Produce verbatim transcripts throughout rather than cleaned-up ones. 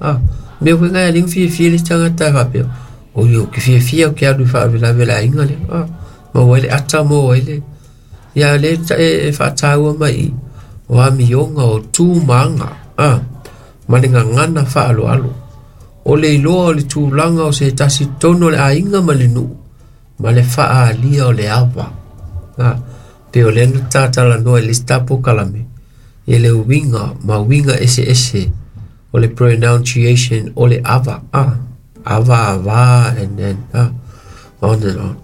A mea foi ngai alinga fiafia le isi tagata e faapea oi ou te fiafia ou te alu i faalavelave le aiga lea a maua ai le ata maua ai le ia lea e e faataua mai i o amioga o tu ma aga a ma le gagana faaaloalo o le iloa o le tulaga o se tasi tonu o le aiga ma le nuu ma le faaalia o le ava a pe o lea na tatalanoa i le isi tapokalame i le uiga ma uiga eseese o le pronunciation o le ava a ava ava and then ah, on and on.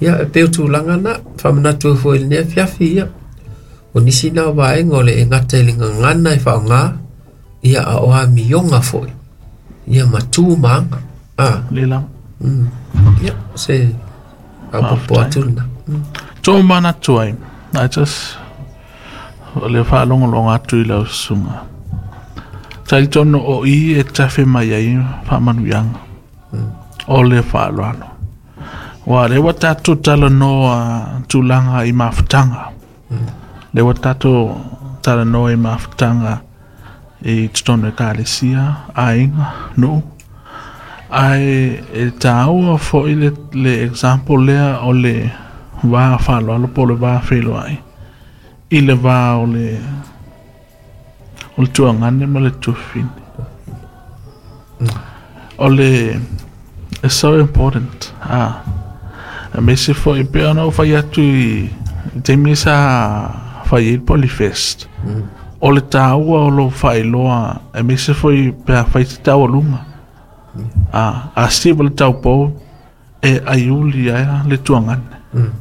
Ia e pei o tulaga na faamanatu ai foi i lenei afiafi ia o nisi na o vaega o le e gata i le gagana e faaaoga ia a o amioga foi ia ma tu ma aga a Le lava. mm. Ia se faaopoopo atu lena mm. Tō manatu ai, I just o le faalogologo atu i lau susuga. Talitonu o i e tafe mai ai faamanuiaga. O le faaaloalo. Ua lea ua tatou talanoa tulaga i mafutaga. Lea ua tatou talanoa i mafutaga i totonu e ekalesia, aiga, nuu. Ae e tāua foi le, le example lea o le va faaaloalo po o le va feiloai. I le va o le o le tuagane ma le tuafafine. O le it's so important. Ah. Aemaise foi pei ona ou fai atu i i taimi sa fai ai le Polyfest. O le tāua o lo faailoa aemaise foi pe a fai se taualuga. Ah, a siva le taupou e aiuli ai le tuagane. Mm.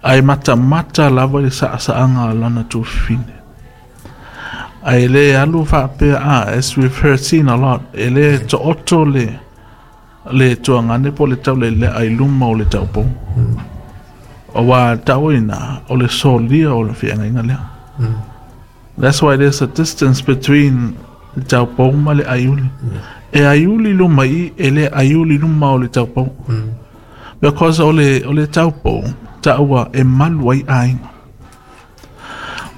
Ae matamata lava i le saasaaga a lana tuafafine. Ae le alu faapea ah, as we've heard seen a lot, e le tooto le le tuagane po o le taulelea i luma o le taupou. Auā tau ina o le solia o le feagaiga lea. Mm. That's why there's a distance between le taupou ma le aiuli. E aiuli luma i e le aiuli luma o le taupou. Mm. Because o le o le taupou taua e malu ai aiga.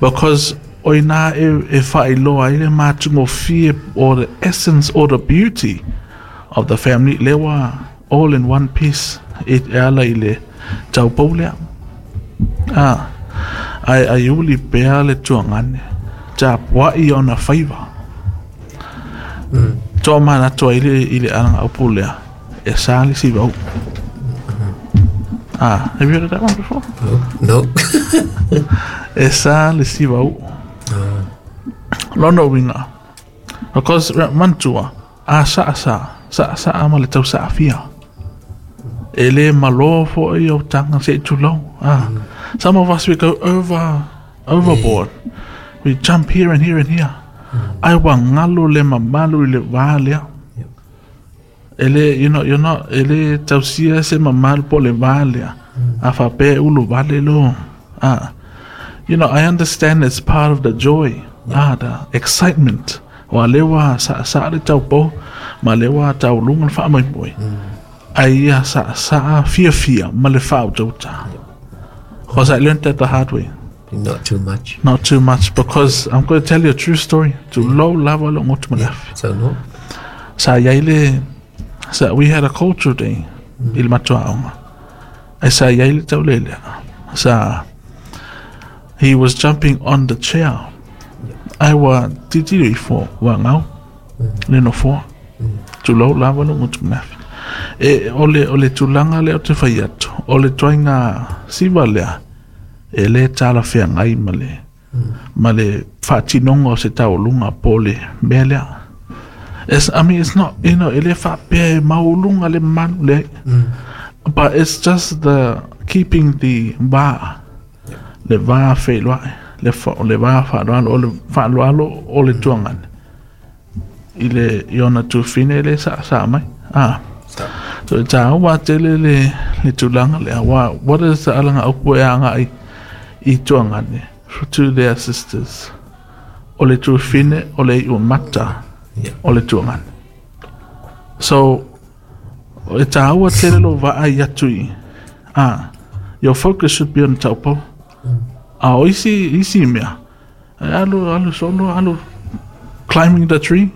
Because o ina e, e faailoa ai le matagofie or the essence or the beauty of the family lea ua all in one piece e e ala i le taupou lea. Ah, ae aiuli pea le tuagane tapuai ona faiva. Mm. Toa manatu ai le i le alagaupu lea e sa le sivau. Ah, have you heard of that one before? No. E sa le sivau. Ah. Lona uiga. Because manatua, a saa sa, saa saa ma le tau saafia. E le malo foi o taga se i tulou. Ah. Some of us we go over overboard. We jump here and here and here. Ai ua galo le mamalu i le va lea. Yep. E le, you know, you're not, e le tausia se mamalu po le va lea. A faapea e ulu vale lo. Ah. You know, I understand it's part of the joy. Ah, the excitement. Ua lea ua saasaa le taupou ma lea ua tauluga le faamoemoe. Ai ia saasaa fiafia ma le faautauta. Because I learned that the hard way. Not too much. Not too much because I'm going to tell you a true story. Tulou lava lou goto ma le afi. So no. Sa iai le sa we had a culture day i le matou aoga. Ae sa iai le taulelea. Sa he was jumping on the chair. Ae ua tilotilo ifo ua gau le nofoa. Tulou lava lou goto ma le afi. E o le o le tulaga lea ou te fai atu, o le ituaiga siva lea e le talafeagai ma le ma le faatinoga o se taualuga po o le mea lea. It's, I mean, it's not, you know, e le faapea e maualuga le mamalu leai. But it's just the keeping the va, le va feiloai, le, fa, le va faaaloalo, o le faaaloalo o le tuagane. I le i ona tuafafine e le saasaa mai. Ah. So e tāua tele le, le tulaga lea. Wa, what is the alagaupu e agai i tuagane to their sisters? O le tuafafine o le iumata Yeah. o le tuagane. So, e tāua tele lo vaai atu i. Ah, your focus should be on taupou. A o isi, isi mea, e alu, alu solo, alu climbing the tree.